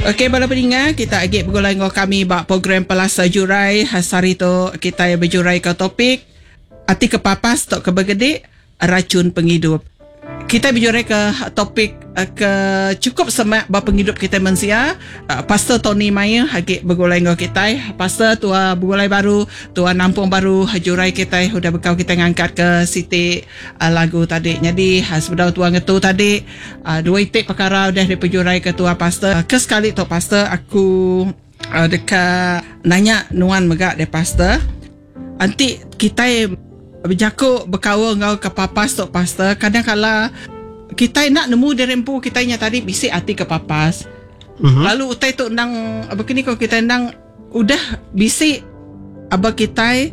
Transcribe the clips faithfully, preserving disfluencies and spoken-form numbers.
Okey bala peninga, kita agi begulai enggau kami ba program Pelasar Jurai. Sehari tu kita bejurai ke topik ati kepapas tauka begedi, racun pengidup. Kita bejurai ke topik eh, ke cukup semak ba pengidup kita mensia. Eh, Pastor Tony Maya agi begulai enggau kita. Pastor, tua begulai baru, tua nampung baru jurai kita udah bekau kita ngangkat ke siti uh, lagu tadi. Jadi sebedau tua ngetu tadi, uh, dua itik perkara udah dipejurai ke tua, Pastor. Ke sekali tu, Pastor, aku uh, dekat nanya nuan mega deh, Pastor. Anti kita bejaku berkaul ngau kepapas tu, Pastor, kadang kala kita nak nemu diri empu kita nya tadi bisi ati kepapas. Mm-hmm. Lalu utai tu nang begini ko kita nang udah bisi aba kita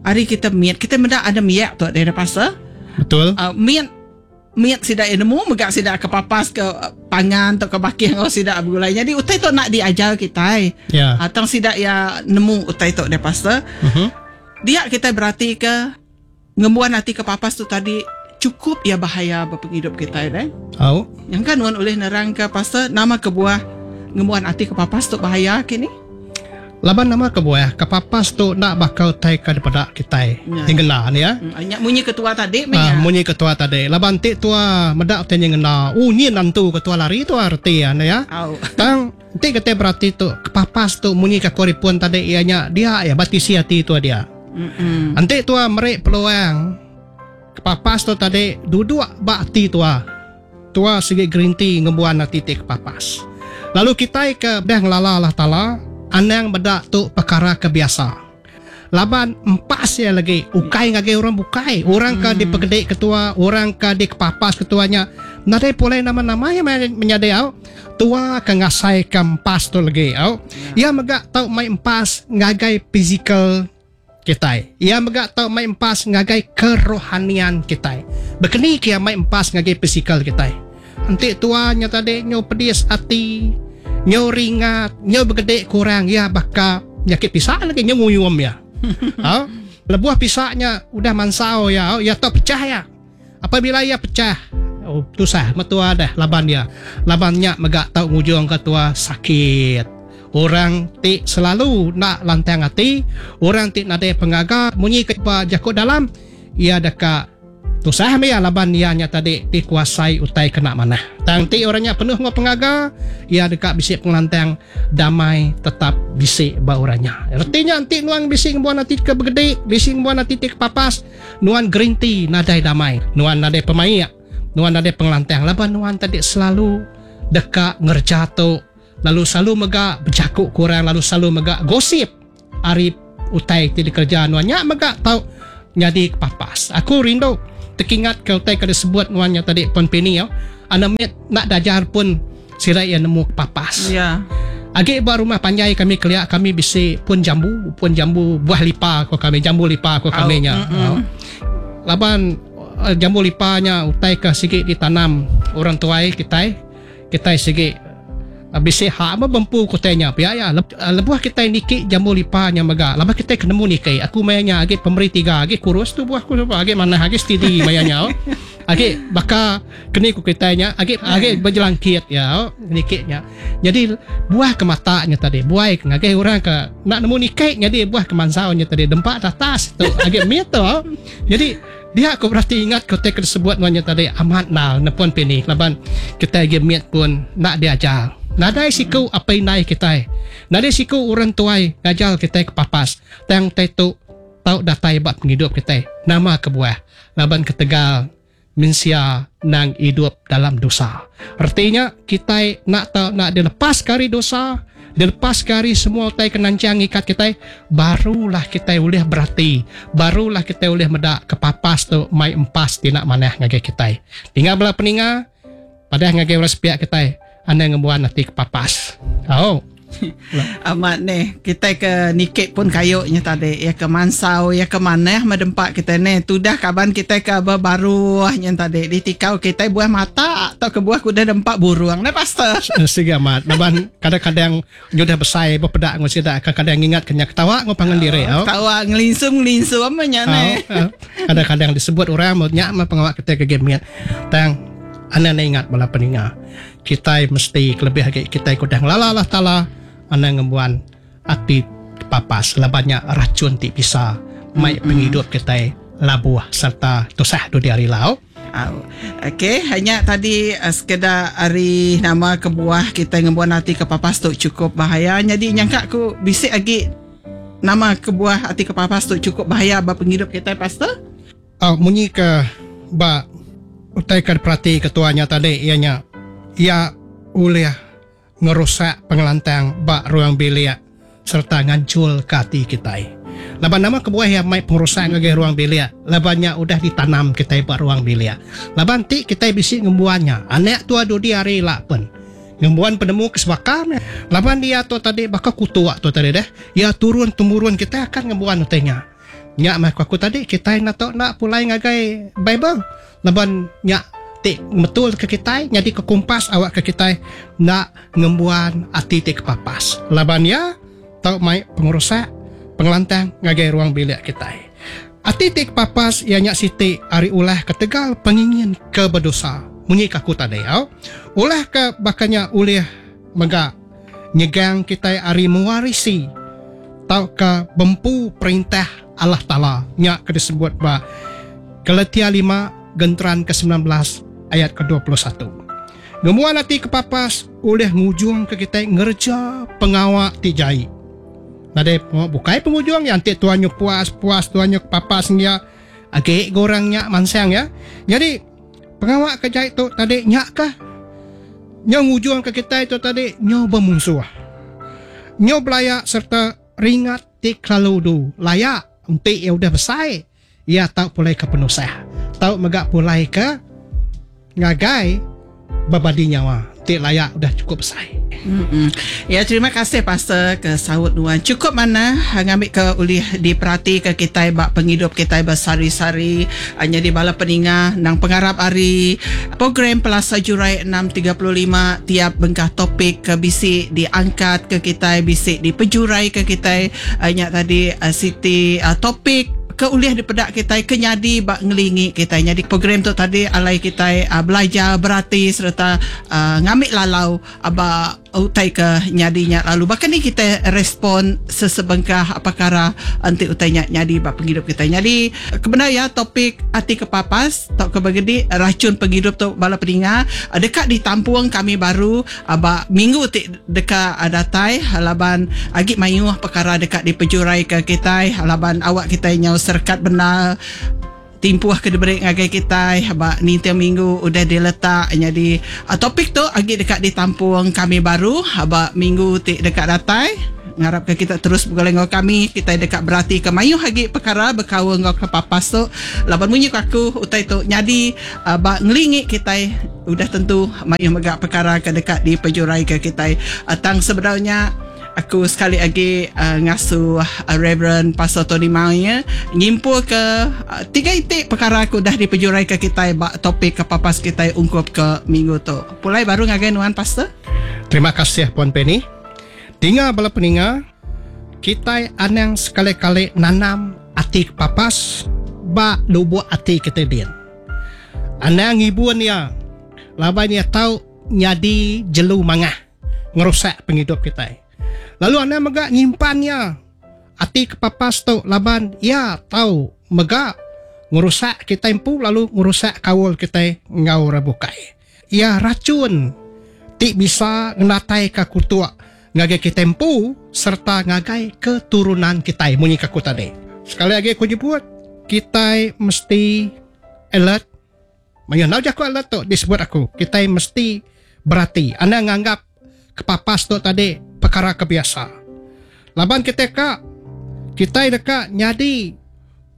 hari kita miat kita menda ada miak tu dari pasal. Betul. Uh, miat miat sida nemu mega sida kepapas ke pangan atau ke bakih ngau sida begulai. Jadi utai tu nak diajar kita. Ya. Yeah. Atau sida ya nemu utai tu dari pasal. Mm-hmm. Dia kita berarti ke ngembuan hati kepapas tu tadi cukup ya bahaya berpenghidup kita eh. Oh. Yang kan nuan oleh nerang ke pasal nama kebuah ngembuan hati kepapas tu bahaya kini? Laban nama kebuah kepapas tu nak bakal tai ke daripada kita. Ya. Tinggal ni ya. Hmm, munyi ketua tadi ah, munyi ketua tadi. Laban ti tua medak tanya ngena. Oh ni nantu ketua lari tu arti ya ya. Oh. Tang ti kata berarti tu kepapas tu munyi ke koripun tadi ianya dia ya batisi hati tu dia. Mm-mm. Nanti tua merik peluang kepapas tu tadi duduk bak hati tua. Tua segi green tea ngembuan hati ti kepapas. Lalu kita ke dah ngelala Allah Taala, anang bedak tu perkara kebiasa. Laban empas ya lagi ukai ngagai orang bukai, orang ke Mm. dipegedik ketua, orang ke dikepapas ketuanya. Nadai pulai nama-nama yang menyadai au. Tua ke ngasai ke empas tu lagi au. Ya. Ia megak tau mai empas ngagai physical kita. Ia megak tau mai empas ngagai kerohanian kita. Bekeni kia mai empas ngagai physical kita. Enti tuanya tadi nyo pedis hati, nyo ringat, nyo begedek kurang, ya bakal penyakit pisak lagi nyo nguyum ya. Ha? Lebuah pisaknya udah mansau ya, ya tau pecah ya. Apabila ia pecah, oh tusah metua dah laban dia. Labannya megak tau ngujung ke tua sakit. Orang ti selalu nak lantang hati, orang ti nadai pengaga munyi ke jakut dalam, ia dekat tusah ya laban ia nya tadi dikuasai utai kena manah. Tang ti orangnya penuh ngau pengaga, ia dekat bisik pengelantang damai tetap bisik ba orangnya. Artinya anti nuang bisik buan hati ke begede, bisik buan hati ti ke papas, nuan green tea nadai damai, nuan nadai pemaik, nuan nadai pengelantang laban nuan tadi selalu dekat ngerja tu. Lalu selalu mega berjakuk kurang, lalu selalu mega gosip ari utai ti dikerja nuan nya mega tau jadi kepapas. Aku rindu terkingat ke utai ke disebut nuan nya tadi pon pini ya. Anak nak dajar pun sirai yang nemu kepapas. Ya. Agi ba rumah panjai kami keliak kami bisi pun jambu, pun jambu buah lipa ko kami, jambu lipa ko kami nya. Oh. Laban jambu lipanya utai ke sigi ditanam orang tuai kita, kita sigi bisi hak apa bempu kotanya pia ya lebuh kita niki jambu lipanya mega lama kita kena niki aku mayanya agi pemberi tiga agi kurus tu buah ku agi mana agi steady mayanya agi baka keni ku kitanya agi agi berjelangkit ya nikiknya. Jadi buah ke matanya tadi buai ngagai orang ke nak nemu niki jadi buah ke mansaunya tadi dempak atas tu agi mit tu. Jadi dia aku berarti ingat kote tersebut nuannya tadi amat nal nepon pini laban kita agi mit pun nak diajar. Nadai siku apa inai kita. Nadai siku orang tuai ngajal kita ke papas. Tang tai tu tau datai bab penghidup kita. Nama kebuah laban ketegal mensia nang hidup dalam dosa. Artinya kita nak tau nak dilepas kari dosa, dilepas kari semua utai kenancang ikat kita, barulah kita boleh berarti, barulah kita boleh medak kepapas tu mai empas ti nak manah ngagai kita. Tinggal bela peninga padah ngagai orang sepiak kita. Anda ngembuan hati kepapas. Oh. Amat ni kita ke nikik pun kayuknya tadi ya ke mansau ya ke manah medempak kita ni tudah kaban kita ke baru nya tadi ditikau kita buah mata atau ke buah kuda dempak burung ne pastor. Siga amat laban kadang-kadang nyudah besai berpedak ngau sida kadang-kadang ingat kenya ketawa ngau pangan diri oh. Ketawa ngelinsum-ngelinsum nya ne. Kadang-kadang disebut orang mau nyak mah pengawak kita ke game tang anda ingat bala peninga. Kita mesti kelebih lagi kita kudah ngelala Allah Taala anang ngembuan ati papas labannya racun ti bisa mai mm-hmm. penghidup kita labuh serta tusah du di hari lau. Okey, hanya tadi uh, sekedar hari nama kebuah kita ngembuan hati kepapas tu cukup bahaya. Jadi nyangka aku bisik lagi nama kebuah hati kepapas tu cukup bahaya ba penghidup kita, pastor? Oh, munyi ke ba utai ke perhati ketuanya tadi ianya ia ulih ngerusak pengelantang ba ruang bilik serta ngancul ke hati kita. Laban nama kebuah yang mai pengerusak ngagai ruang bilik, labannya udah ditanam kita ba ruang bilik. Laban ti kita bisi ngembuannya, anak tua dudi hari lak pen. Ngembuan penemu kesebakam. Laban dia tu tadi bakal kutu tu tadi deh. Ya turun temurun kita akan ngembuan utainya. Nyak mah aku tadi kita nak tok nak pulai ngagai Bible. Laban nyak ti betul ke kita jadi ke kompas awak ke kita nak ngembuan ati ti kepapas. Laban ya tau mai pengerusak pengelantang ngagai ruang bilik kita. Ati ti kepapas ia nyak siti ari ulah ketegal pengingin ke berdosa. Munyi ke aku tadi au. Ulah ke bakanya ulih mega nyegang kita ari mewarisi tau ke bempu perintah Allah Taala nyak ke disebut ba Galatia lima genteran ke sembilan belas ayat ke dua puluh satu. Ngemuan ati kepapas ulih ngujung ke kita ngerja pengawak ti jai. Nadai bukai penghujung yang ti tuannya puas-puas tuannya kepapas nya agek gorangnya mansang ya. Jadi pengawak ke jai tu tadi nyak kah? Nyo ngujung ke kita itu tadi nyo bermunsuh. Nyo belayak serta ringat ti kelalu du. Layak entik ya udah besar ia tau pulai ke penusah. Tau megak pulai ke ngagai berbadi nyawa. Tik layak udah cukup besar. Mm-mm. Ya, terima kasih pastor ke saut nuan. Cukup mana ngambil ke ulih diperhati ke kita bak penghidup kita bersari-sari hanya di bala peninga nang pengarap hari program Pelasa Jurai enam tiga puluh lima tiap bengkah topik ke bisi diangkat ke kita bisi dipejurai ke kita hanya tadi siti topik ke ulih dipedak kita kenyadi bak ngelingi kita. Jadi program tu tadi alai kita uh, belajar berarti serta uh, ngambil lalau aba utai ke nyadinya lalu bahkan ni kita respon sesebengkah perkara anti utainya nyadi bak penghidup kita. Jadi kebenar ya topik ati kepapas tok ke begedi racun penghidup tu bala peninga dekat ditampung kami baru aba minggu ti dekat datai laban agi mayuh perkara dekat dipejurai ke kita laban awak kita nyau serkat benar timpuh ke diberi ngagai kita ba nintiang minggu udah diletak jadi uh, topik tu agi dekat ditampung kami baru ba minggu ti dekat datai. Ngarap ke kita terus bergulai dengan kami kita dekat berarti ke mayuh agi perkara berkaul ngau ke papas tu laban munyi aku utai tu nyadi uh, ba ngelingi kita udah tentu mayuh mega perkara ke dekat dipejurai ke kita uh, tang sebenarnya aku sekali lagi uh, ngasuh uh, Reverend Pastor Tony Maunya nyimpul ke uh, tiga itik perkara aku dah dipejurai ke kita bak topik ke papas kita ungkup ke minggu tu. Pulai baru ngagai nuan pastor. Terima kasih Puan Penny. Tinggal bala peninga, kita anang sekali-kali nanam ati kepapas bak lubuk ati kita din. Anang ibuan ya, laban ya tau nyadi jelu mangah ngerusak penghidup kita. Lalu anda megak nyimpannya ati kepapas tu laban ya tahu megak ngerusak kita empu lalu ngerusak kawul kita ngau rabukai. Ya racun ti bisa ngenatai ke kutuak ngagai kita empu serta ngagai keturunan kita munyi kaku tadi. Sekali lagi aku jemput kita mesti alert. Mayu nau jaku alert tu disebut aku. Kita mesti berarti anda nganggap kepapas tu tadi perkara kebiasa. Laban kita kak, kita dekat nyadi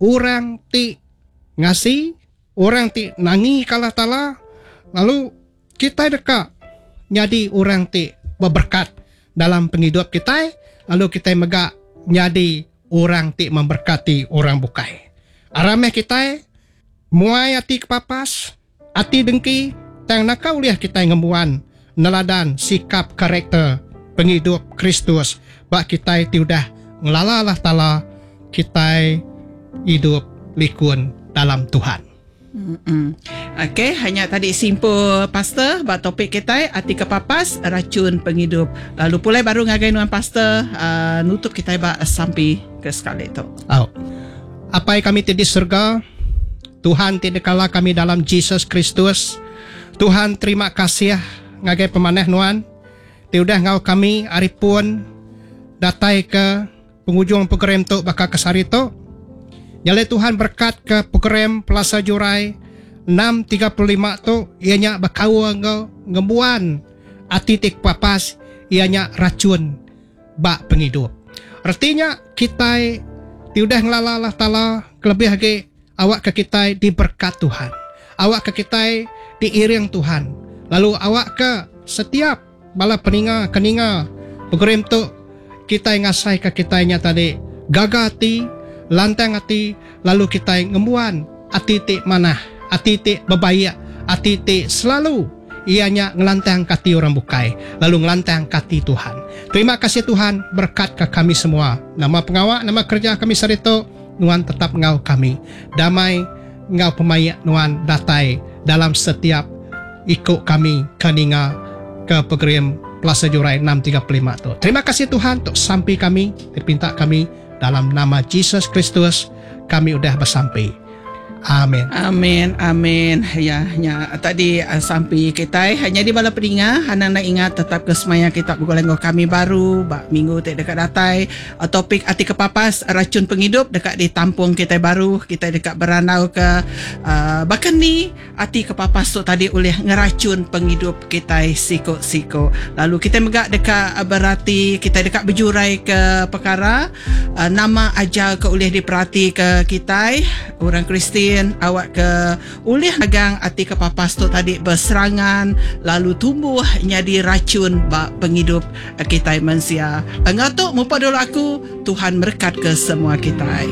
orang ti ngasi, orang ti nangi kalah tala, lalu kita dekat nyadi orang ti berberkat dalam penghidup kita, lalu kita megak nyadi orang ti memberkati orang bukai. Arameh kita muai ati kepapas, ati dengki, tang nakau liah kita ngembuan neladan sikap karakter penghidup Kristus bak kita ti udah ngelala Allah Taala kita hidup likun dalam Tuhan. Mm-mm. Okey, hanya tadi simpul pastor ba topik kita ati kepapas racun pengidup. Lalu pulai baru ngagai nuan pastor uh, nutup kita ba sampi ke sekali tu. Oh. Apai kami ti di surga, Tuhan ti dikala kami dalam Jesus Kristus. Tuhan terima kasih ngagai pemanah nuan. Ti udah ngau kami hari pun datai ke penghujung program tu bakal ke sehari tu. Nyalai Tuhan berkat ke program Plaza Jurai enam tiga puluh lima tu ianya bekau ngau ngembuan ati ti papas ianya racun bak penghidup. Artinya kita ti udah ngelala Allah Taala kelebih lagi awak ke kita diberkat Tuhan. Awak ke kita diiring Tuhan. Lalu awak ke setiap bala peninga keninga program tu kita ngasai ke kita nya tadi gaga hati, lantang hati, lalu kita ngembuan ati ti manah, ati ti berbaik, ati ti selalu ianya ngelantang kati orang bukai, lalu ngelantang kati Tuhan. Terima kasih Tuhan, berkat ke kami semua. Nama pengawak, nama kerja kami sarito, nuan tetap ngau kami. Damai ngau pemayak nuan datai dalam setiap ikut kami keninga ke program Plaza Jurai enam tiga puluh lima tu. Terima kasih Tuhan untuk sampai kami, terpinta kami dalam nama Jesus Kristus kami udah bersampai. Amin. Amin, amin. Ya, ya tadi uh, sampai kita hanya di bala peninga, hana nak ingat tetap ke semaya kita bergoleng dengan kami baru bak minggu tak dekat datai uh, topik ati kepapas racun penghidup dekat ditampung kita baru, kita dekat beranau ke uh, bahkan ni ati kepapas tu tadi oleh ngeracun penghidup kita siko-siko. Lalu kita megak dekat berarti kita dekat berjurai ke perkara uh, nama ajar ke oleh diperhati ke kita orang Kristian awak ke ulih agang ati kepapas tu tadi berserangan lalu tumbuh jadi racun bak penghidup kita manusia. Engau tu mupa dulu aku Tuhan berkat ke semua kita.